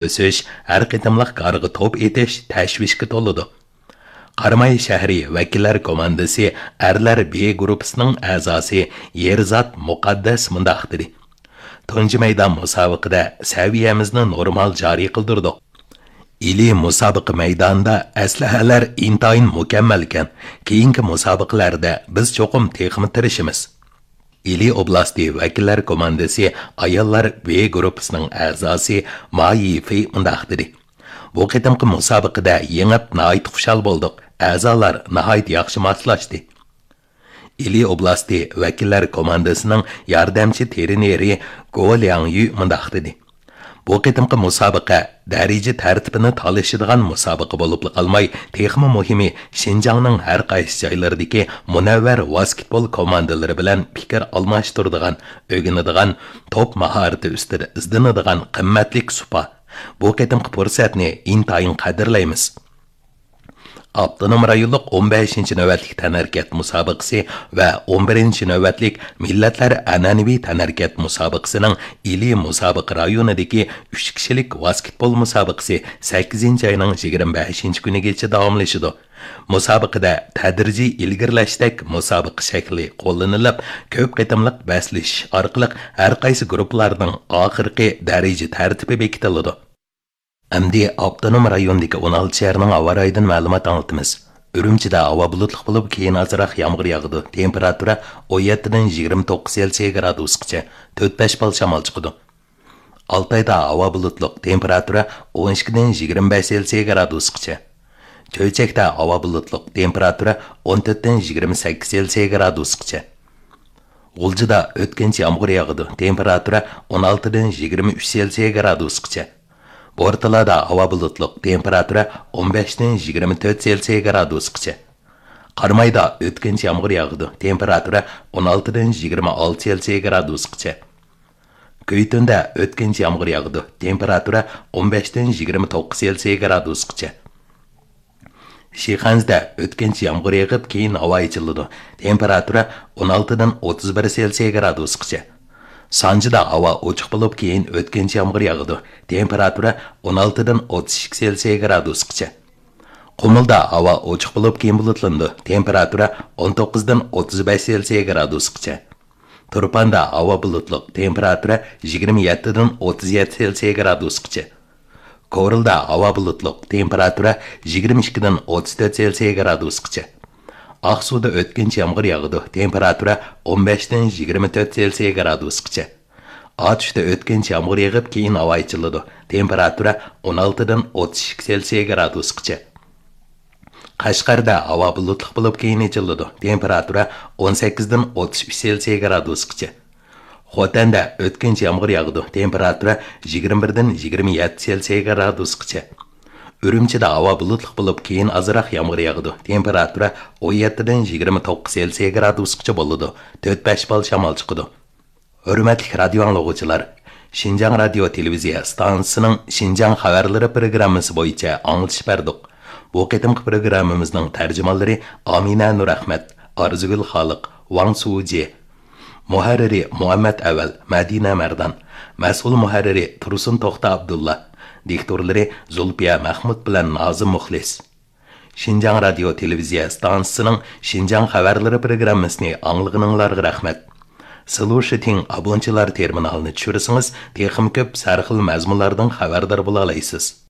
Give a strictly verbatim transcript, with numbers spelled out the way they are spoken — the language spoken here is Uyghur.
ئۆسۈش، ھەر قېتىملىق گارغا توپ ئېتىش تەشۋىشكە تولىدۇ. قاراماي شەھىرى ۋەكىللەر كوماندىسى ئەرلەر بې گۇرۇپپىسىنىڭ ئەزاسى يېرزات مۇقەددەس مۇنداق دېدى: تۇنجى مەيدان مۇسابىقىدە سەۋىيەمىزنى نورمال جارى قىلدۇردۇق. ئىلى مۇسابىقە مەيدانىدا ئەسلىھەلەر ئىنتايىن مۇكەممەلكەن، كېيىنكى مۇسابىقىلەردە بىز چوقۇم تېخىمۇ تىرىشىمىز. ئىلى ئوبلاستى ۋەكىللەر كوماندىسى ئاياللار بې گۇرۇپپىسىنىڭ ئەزاسى ما يىفېي مۇنداق دېدى: بۇ قېتىمقى مۇسابىقىدە يېڭىپ ناھايىتى خۇشال بولدۇق، ئەزالار ناھايىتى ياخشى ماسلاشتى. ئىلى ئوبلاستى ۋەكىللەر كوماندىسىنىڭ ياردەمچى ترېنېرى گو لياڭيۈ مۇنداق دېدى: بۇ قېتىمقى مۇسابىقە دەرىجە تەرتىپىنى تالىشىدىغان مۇسابىقە بولۇپلا قالماي، تېخىمۇ مۇھىمى، شىنجاڭنىڭ ھەر قايسى جايلىرىدىكى مۇنەۋۋەر ۋاسكېتبول كوماندىلىرى بىلەن پىكىر ئالماشتۇرىدىغان، ئۆگىنىدىغان، توپ ماھارىتى ئۈستىدە ئىزدىنىدىغان قىممەتلىك سۇپا. بۇ قېتىمقى پۇرسەتنى ئىنتايىن قەدىرلەيمىز. ئاپتونوم رايونلۇق ئون بەشىنچى نۆۋەتلىك تەنھەرىكەت مۇسابىقىسى ۋە ئون بىرىنچى نۆۋەتلىك مىللەتلەر ئەنئەنىۋى تەنھەرىكەت مۇسابىقىسىنىڭ ئىلى مۇسابىقە رايونىدىكى ئۈچ كىشىلىك ۋاسكېتبول مۇسابىقىسى سەككىزىنچى ئاينىڭ يىگىرمە بەشىنچى كۈنىگىچە داۋاملىشىدۇ. مۇسابىقىدە تەدرىجىي ئىلگىرىلەشتەك مۇسابىقە شەكلى قوللىنىلىپ، كۆپ قېتىملىق بەسلىشىش ئارقىلىق ھەر قايسى گۇرۇپپىلارنىڭ ئاخىرقى دەرىجە تەرتىپى بېكىتىلىدۇ. ئەمدى ئاپتونوم رايوندىكى ئون ئالتە شەھەرنىڭ ھاۋا رايىدىن مەلۇمات ئاڭلىتىمىز. ئۈرۈمچىدە ھاۋا بۇلۇتلۇق بولۇپ، كېيىن ئازراق يامغۇر ياغىدۇ. تېمپېراتۇرا ئون يەتتىدىن يىگىرمە توققۇز سېلسىيە گرادۇسقىچە، تۆت بەش بال شامال چىقىدۇ. ئالتايدا ھاۋا بۇلۇتلۇق، تېمپېراتۇرا ئون ئىككىدىن يىگىرمە بەش سېلسىيە گرادۇسقىچە. چۆچەكتە ھاۋا بۇلۇتلۇق، تېمپېراتۇرا ئون تۆتتىن يىگىرمە سەككىز سېلسىيە گرادۇسقىچە. غۇلجىدا ئۆتكۈنچى يامغۇر ياغىدۇ، تېمپېراتۇرا ئون ئالتىدىن يىگىرمە ئۈچ سېلسىيە گرادۇسقىچە. بورتالادا ھاۋا بۇلۇتلۇق، تېمپېراتۇرا ئون بەشتىن يىگىرمە تۆت سېلسىيە گرادۇسقىچە. قارامايدا ئۆتكۈنچى يامغۇر ياغىدۇ، تېمپېراتۇرا ئون ئالتىدىن يىگىرمە ئالتە سېلسىيە گرادۇسقىچە. كۈيتۈندە ئۆتكۈنچى يامغۇر ياغىدۇ، تېمپېراتۇرا ئون بەشتىن يىگىرمە توققۇز سېلسىيە گرادۇسقىچە. شىخەنزىدە ئۆتكۈنچى يامغۇر يېغىپ، كېيىن ھاۋا ئېچىلىدۇ. تېمپېراتۇرا ئون ئالتىدىن ئوتتۇز بىر سېلسىيە گرادۇسقىچە. سانجىدا ھاۋا ئوچۇق بولۇپ، كېيىن ئۆتكۈنچى يامغۇر ياغىدۇ. تېمپېراتۇرا ئون ئالتىدىن ئوتتۇز ئىككى سېلسىيە گرادۇسقىچە. قۇمۇلدا ھاۋا ئوچۇق بولۇپ، كېيىن بۇلۇتلىنىدۇ. تېمپېراتۇرا ئون توققۇزدىن ئوتتۇز بەش سېلسىيە گرادۇسقىچە. تۇرپاندا ھاۋا بۇلۇتلۇق، تېمپېراتۇرا يىگىرمە يەتتىدىن ئوتتۇز يەتتە سېلسىيە گرادۇسقىچە. كورلىدا ھاۋا بۇلۇتلۇق، تېمپېراتۇرا يىگىرمە ئىككىدىن ئوتتۇز تۆت سېلسىيە گرادۇسقىچە. ئاقسۇدا ئۆتكۈنچى يامغۇر ياغىدۇ، تېمپېراتۇرا ئون بەشتىن يىگىرمە تۆت سېلسىيە گرادۇسقىچە. ئاتۇشتا ئۆتكۈنچى يامغۇر يېغىپ، كېيىن ھاۋا ئېچىلىدۇ، تېمپېراتۇرا ئون ئالتىدىن ئوتتۇز ئىككى سېلسىيە گرادۇسقىچە. قەشقەردە ھاۋا بۇلۇتلۇق بولۇپ، كېيىن ئېچىلىدۇ، تېمپېراتۇرا ئون سەككىزدىن ئوتتۇز ئۈچ سېلسىيە گرادۇسقىچە. خوتەندە ئۆتكۈنچى يامغۇر ياغىدۇ، تېمپېراتۇرا يىگىرمە بىردىن يىگىرمە يەتتە سېلسىيە گرادۇسقىچە. ئۈرۈمچىدە ھاۋا بۇلۇتلۇق بولۇپ، كېيىن ئازراق يامغۇر ياغىدۇ، تېمپېراتۇرا ئون يەتتىدىن يىگىرمە توققۇز سېلسىيە گرادۇسقىچە بولىدۇ، تۆت بەش بال شامال چىقىدۇ. ھۆرمەتلىك رادىيو ئاڭلىغۇچىلار، شىنجاڭ رادىيو تېلېۋىزىيە ئىستانسىسىنىڭ شىنجاڭ خەۋەرلىرى پروگراممىسى بويىچە ئاڭلىتىش بەردۇق. بۇ قېتىمقى پروگراممىمىزنىڭ تەرجىمانلىرى ئامىنە نۇرئەخمەت، ئارزۇگۈل خالىق، ۋاڭ سۇجى. مۇھەررىرى مۇھەممەت ئەۋەل، مەدىنە مەردان. مەسئۇل مۇھەررىرى تۇرسۇن توختى ئابدۇللا. دىكتورلىرى زۇلپىيە مەخمۇت بىلەن نازىم مۇخلىس. شىنجاڭ رادىيو تېلېۋىزىيە ئىستانسىسىنىڭ شىنجاڭ خەۋەرلىرى پروگراممىسىنى ئاڭلىغىنىڭلارغا رەھمەت. سىلۇشىتىڭ ئابونچىلار تېرمىنالىنى چۈشۈرسىڭىز، تېخىمۇ كۆپ سەرخىل مەزمۇنلاردىن خەۋەردار بولالايسىز.